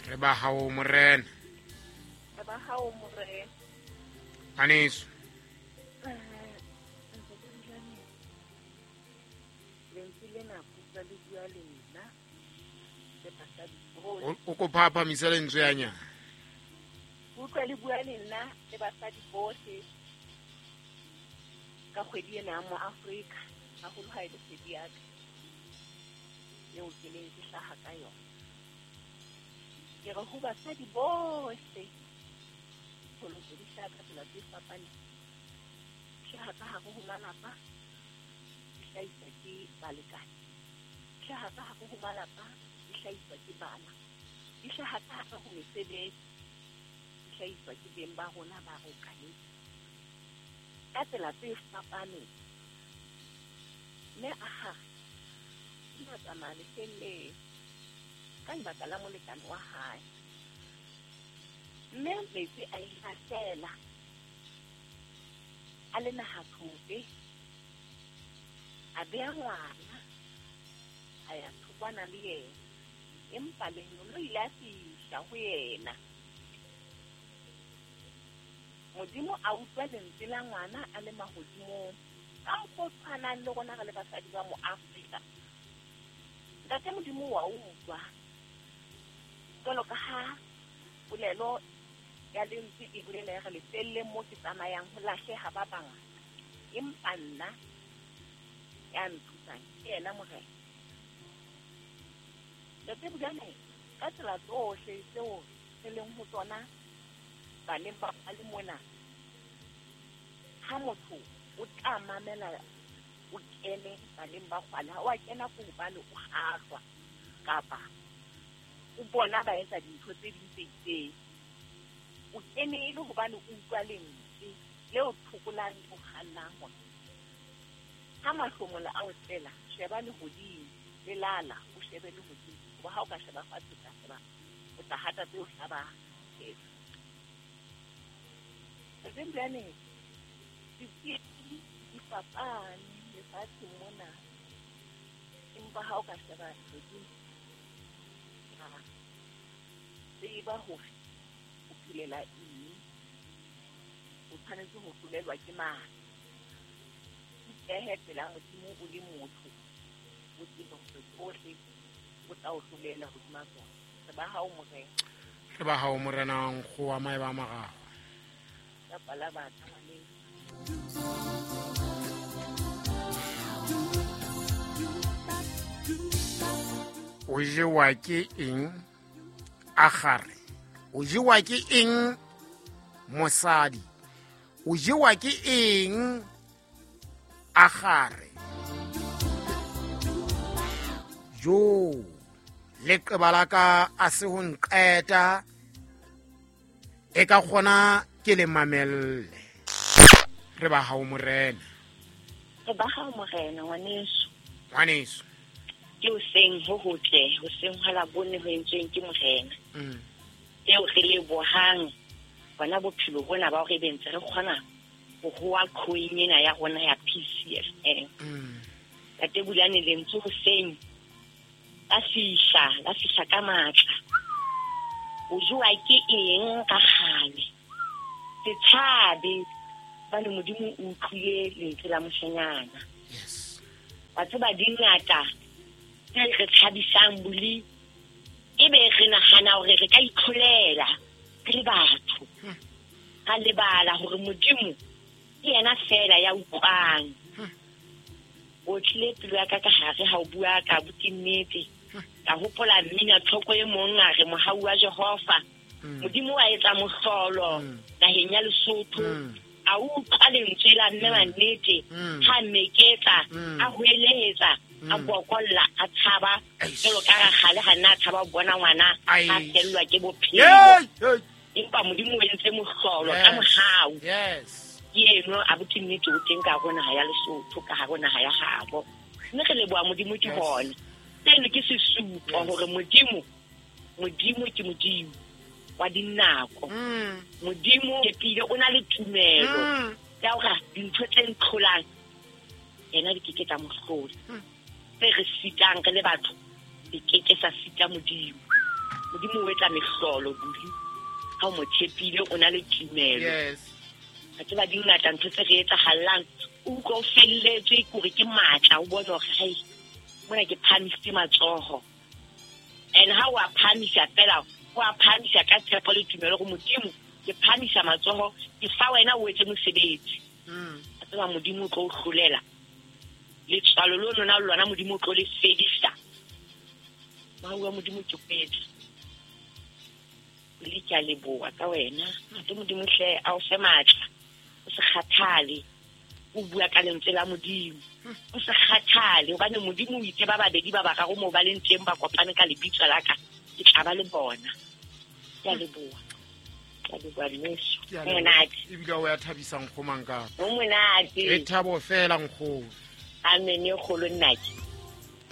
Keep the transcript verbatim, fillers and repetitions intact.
Re ba hao morena. Re ba hao morena. Aneso. O ko phaphamisa lentswe ya nyana. Utlwa le bua le nna le basadi bohle ka kgwedi ena ya mo Afrika, haholo ha e le kgwedi ya ka eo ke neng ke hlaha ka yona. Ke re ho basadi bohle, pholoso di hlaha ka tsela tse fapaneng. Di hlaha ka hare ho malapa, di hlahiswa ke balekane. Di hlaha ka hare ho malapa, di hlahiswa ke bana. Di hlaha ka hare ho mesebetsi, di hlahiswa ke beng ba rona ba re okametseng. Ka tsela tse fapaneng. Mme a hare o ile a tsamaya lefelleng ka lebaka la molekane wa hae. Mme metsi a ile a fela, a le nahathothe, a beha ngwana, a ya thokwana le yena. Empa lengeloi ile a fihla ho yena. Modimo a utlwa lentswe la ngwana a le mahodimong. Ka mokgwa o tshwanang le rona re le basadi ba mo Afrika. Ntate Modimo wa utlwa. Jwalo ka ha polelo ya lentswe e bolela ya re lefelleng mo ke tsamayang ho lahleha ba bangata. Empa nna ya nthusang ke yena Morena. Ntate Bulane, ka tsela tsohle tseo re leng ho tsona baneng ba le mona, ha motho o tla mamela o kene baneng ba kgwale, ha o a kena ko hobane o kgahlwa kapa o bona ba etsa dintho tse ding tse itseng. O kene e le hobane o utlwa lentswe leo thokolang le o kgannang hore ha mahlomola a o tlela, sheba lehodimo, lelala o shebe lehodimo. Hoba ha o ka sheba fatshe, o tla sheba, o tla hata tse o hlabang. Tse di fapane lefatsheng mona, empa ha o ka sheba lehodimo, tseba hore o phelela eng, o tshwanetse ho hlolelwa ke mang. Ipehe pela Modimo o le motho, o tsebe hore tsohle o tla o hlolela hodima tsona. Re ba hao morena. Re ba hao morena, nkgo wa maeba a mararo. Ka pala batho ngwaneng. O jewa ke eng Agare? O jewa ke eng mosadi? O jewa ke eng Agare? Jo, leqeba la ka a se ho nqeta, e ka kgona ke le mamelle. Re ba hao morena. Re ba hao morena, ngwaneso. Ngwaneso. Ke hoseng ho hotle, hoseng hwa Labone ho entsweng ke morena. Mm. Eo re lebohang bona bophelo bona ba hore be ntse re kgona ho hoa coin ena ya rona ya P C F M. Mm. Ntate Bulane lentswe hoseng la fihla, la fihla ka matla. O jowa ke eng ka kgale? Se tshabe, hobane Modimo o utlwile lentswe la moshanyana. Yes. Wa tseba di ngata tse re tshabisang boli, ebe re nahana hore re ka itlholela re le batho. Ra lebala hore Modimo ke yena fela ya utlwang. O tlile pelo ya ka ka hare ha o bua ka buti nnete. Ka hopola mmina tlhoko e mong a re mohau wa Jehova. Modimo wa etsa mohlolo naheng ya Lesotho. A utlwa lentswe la mme wa nnete, ha meketsa, a hoeletsa, a bokolla, a tshaba. Jwalo ka rakgale ha nna a tshaba ho bona ngwana a fellwa ke bophelo. Empa Modimo o entse mohlolo ka mohau. Yes. Ke eno a buti nnete o teng ka hare ho naha ya Lesotho, ka hare ho naha ya habo. Mme re leboha Modimo ke hona. Seno ke sesupo hore Modimo, Modimo ke Modimo wa dinako. Modimo ke pile o na le tumelo ya hore dintho tse ntlholang yena di keke tsa mo hlola. Tse re sitang re le batho di keke sa sita Modimo. Modimo o etsa mehlolo buli ha o mo tshepile, o na le tumelo. Yes. A tseba di ngata ntho tse re etsahallang, o utlwa o felletswe ke hore ke matla, o bone hore hai mona ke phahamisitse matsoho. And ha o a phahamisa fela, o a phahamisa ka tshepo le tumelo hore Modimo ke phahamisa matsoho, ke fa wena o etse mosebetsi. Mm. A tseba Modimo o tlo o hlolela. Letswalo lo lona lona Modimo o tlo le fedisa. Mohau wa Modimo ke kwetse. Le ke a leboha ka wena. Ntate Modimo hle a o fe matla. O se kgathale. O bua ka lentswe la Modimo. O se kgathale hobane Modimo o itse ba babedi ba bararo moo ba leng teng ba kopane ka lebitso la ka, ke tla ba le bona. Ke a leboha. Ke a leboha mmeso. Ke a Ho leboha. monate. Ebile o ya thabisa nkgo Mankape. Ho monate. E thabo fela nkgono. Amen e kgolo nnake.